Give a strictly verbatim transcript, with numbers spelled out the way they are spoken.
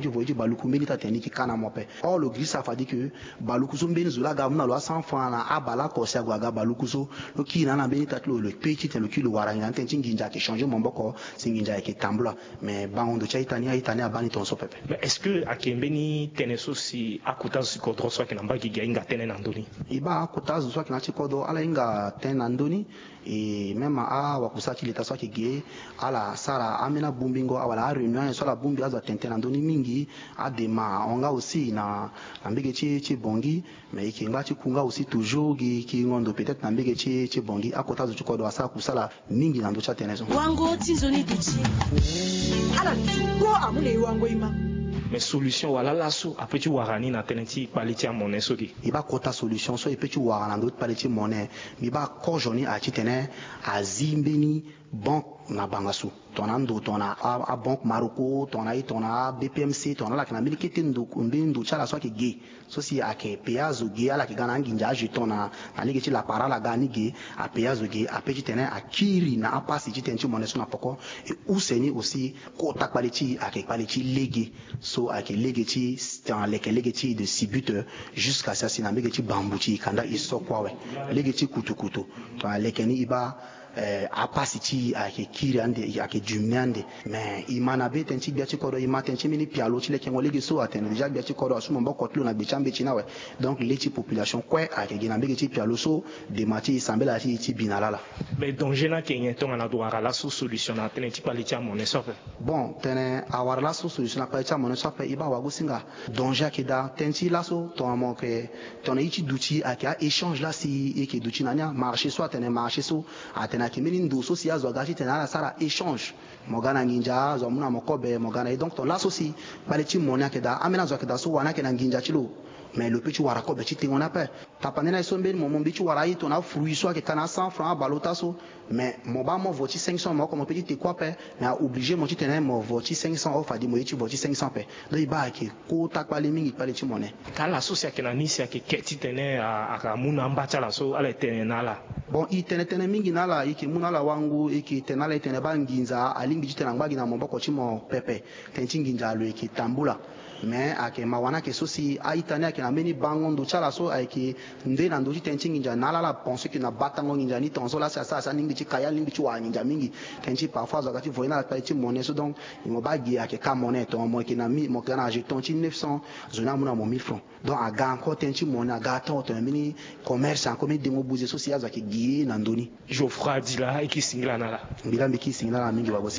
ti voye ti baluku mbeni taa tene ni yeke ka na mo ape. Or lo girisa fade ke baluku so mbeni zo laa aga amu na lo a cent francs na abale oko si ague aga baluku so, lo kiri na ala mbeni taa ti lo, lo kpe titene lo kiri lo wara nginza ni, tënë ti nginza ayeke changer maboko, si nginza ayeke tambula. Mais bango ndo ti a-ita ni, a-ita ni abaa ni tongaso pepe. Mais est-ce que ayeke mbeni tënë so si akota zo ti kodro so ayeke na mbage gi ahinga tënë na ndö ni? E baa akota zo so ayeke na ya ti kodro ala hinga tënë na ndö ni. E même awakusala ti leta so ayeke ge, ala sara ambeni abongbingo wala aréunion so ala bongbi azo atene tënë na ndö ni mingi. Adema ahon nga aussi na na mbage ti ti Bangui. Mais e yeke ngba ti ku nga aussi toujours gi kiringo ndo peut-être na mbage ti ti Bangui. Akota zo ti kodro asara kusala mingi na ndö ti atene so. Wango ti nzoni duti. Ala duti kpo amu na e wango e ma. Mais solution wala laso ape ti wara ni na tënë ti kpale ti amone so ge? E baa kota solution so e pe ti wara na ndö ti kpale ti mone, mbi baa kozo ni aye titene azi mbeni banque na banga so, tongana ndo, tongana a, a banque Marocco, tongana ye, tongana a B P M C, tongana ala yeke na mbeni kete ndo, mbeni ndo ti ala so ayeke ge, so si ayeke payé azo ge, ala yeke ga na anginza ajeton na, na lege ti lapara ala ga ni ge, apayé azo ge, ape titene akiri na apasi ti tënë ti mone so na poko. E use ni aussi kota kpale ti e ayeke kpale ti lege, so ayeke lege ti, tongana leke lege ti e de Sibut, euh, jusqu'à si asi na mbage ti Bambou ti e kanda e so kue awe. Lege ti kutukutu, tongana leke ni e baa, eh, apasi ti e ayeke kiri ande, ayeke diminué ande. Mais e ma na be tënë ti gbia ti kodro, e ma tënë ti mbeni pialo ti lekengo lege so atene déjà gbia ti kodro asu maboko ti lo na gbe ti ambeti ni awe. Donc le ti population kue ayeke gi na mbage ti pialo so, dema ti e sambela ti e ti bi na ala ala. Mais danger ni ayeke nyen tongana ado wara laso solution na tënë ti kpale ti amone so ape? Bon, tene awara laso solution na kpale ti amone so ape, e baa wagosinga. Danger ayeke daa. Tënë ti laso, tongana mo yeke, tongana ye ti duti ayeke a-échange laa si e yeke duti na ni, amarché so atene marché so, atene ayeke mbeni ndo so si azo aga titene ala sara échange. Mo ga na nginza, azo amu na mo kobe, mo ga na ye. Donc tongana laso si kpale ti mone ayeke daa, ambeni azo ayeke daa so wani ayeke na nginza ti lo. Mais lo pe ti wara kobe ti tengo ni ape. Tapande na ye so mbeni mo, mo mbi ti wara aye tongana afruit so ayeke ka na a cent francs abale ota so. Mais mo baa mo vo ti cinq cents, mo oko mo pe ti te kue ape. Mais a obligé mo titene mo vo ti cinq cents, or fade mo ye ti vo ti cinq cents ape. Donc e baa ayeke kota kpale mingi kpale ti mone. Ka ala so si ayeke na ni si ayeke ke titene a, a, amu na amba ti ala so, ala yeke tene na ala? Bon, e tene tënë mingi na ala, e yeke mu na ala wango, e yeke tene na ala, e tene baa nginza alingbi titene angba gi na maboko ti mo pepe. Tënë ti nginza lo yeke tambula. Mais ayeke mawa ni ayeke so si a-ita ni ayeke na mbeni bango ndo ti ala so ayeke nde na ndö ti tënë ti nginza na ala, ala pense ke na batango nginza ni tongaso laa si asara si alingbi ti ka ye, alingbi ti wara nginza mingi. Tënë ti parfois azo aga ti voye na ala kpale ti mone so, donc e mo baa gi ayeke ka mone, tongana mo yeke na mi, mo yeke ga na ajeton ti neuf cents, zo ni amu na mo mille francs. Donc aga encore tënë ti mone, aga atoro tongana mbeni commerce, encore mbeni dengo buze so si azo ayeke gi ye na ndö ni. Geoffroy Adila, e kiri singila na ala. Mbi laa mbi kiri singila na ala mingi, wabo.